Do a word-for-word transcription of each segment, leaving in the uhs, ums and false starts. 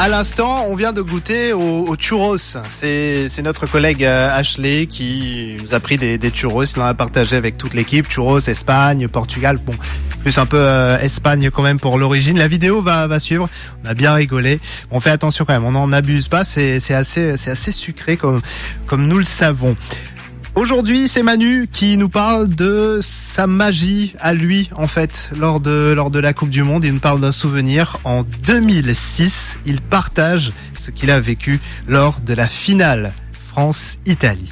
À l'instant, on vient de goûter au, au churros. C'est, c'est notre collègue, euh, Ashley qui nous a pris des, des churros. Il en a partagé avec toute l'équipe. Churros, Espagne, Portugal. Bon, plus un peu, euh, Espagne quand même pour l'origine. La vidéo va, va suivre. On a bien rigolé. On fait attention quand même. On n'en abuse pas. C'est, c'est assez, c'est assez sucré comme, comme nous le savons. Aujourd'hui, c'est Manu qui nous parle de sa magie à lui, en fait, lors de, lors de la Coupe du Monde. Il nous parle d'un souvenir. En deux mille six, il partage ce qu'il a vécu lors de la finale France-Italie.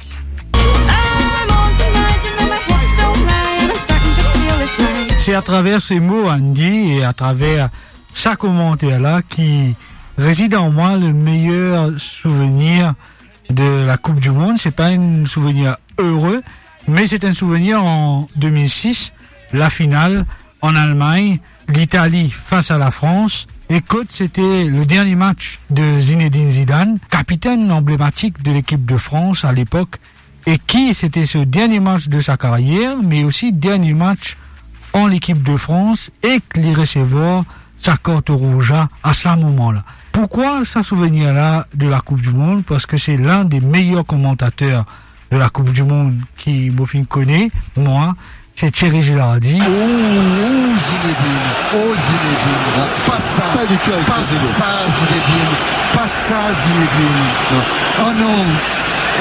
C'est à travers ces mots, Andy, et à travers sa commentaire-là qui réside en moi le meilleur souvenir de la Coupe du Monde. C'est pas un souvenir heureux, mais c'est un souvenir en deux mille six, la finale en Allemagne, l'Italie face à la France. Et kot c'était le dernier match de Zinedine Zidane, capitaine emblématique de l'équipe de France à l'époque, et qui c'était ce dernier match de sa carrière, mais aussi dernier match en équipe de France, e ki li resevwar sa kart rouz la, à ce moment-là. Pourquoi ce souvenir-là de la Coupe du Monde ? Parce que c'est l'un des meilleurs commentateurs de la Coupe du Monde ki mo finn kone, mwa, c'est Thierry Gilardi. Oh, oh, Zinedine. Oh, Zinedine. Pas ça. Pas du tout avec Pas Zinedine. Ça, Zinedine. Pas ça, Zinedine. Non. Oh non.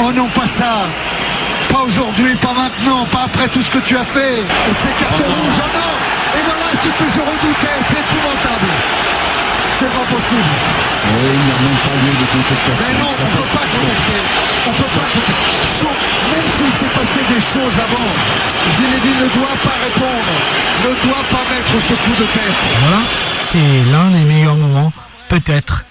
Oh non, pas ça. Pas aujourd'hui, pas maintenant, pas après tout ce que tu as fait. Et ces cartons rouges, oh non. Et voilà ce que je redoutais. C'est épouvantable. C'est pas possible. Oui, il n'y a même pas lieu de contestation. Mais non, on peut pas contester. On peut pas contester. Son- Même s'il s'est passé des choses avant, Zinedine ne doit pas répondre, ne doit pas mettre ce coup de tête. Voilà, c'est l'un des meilleurs moments, peut-être,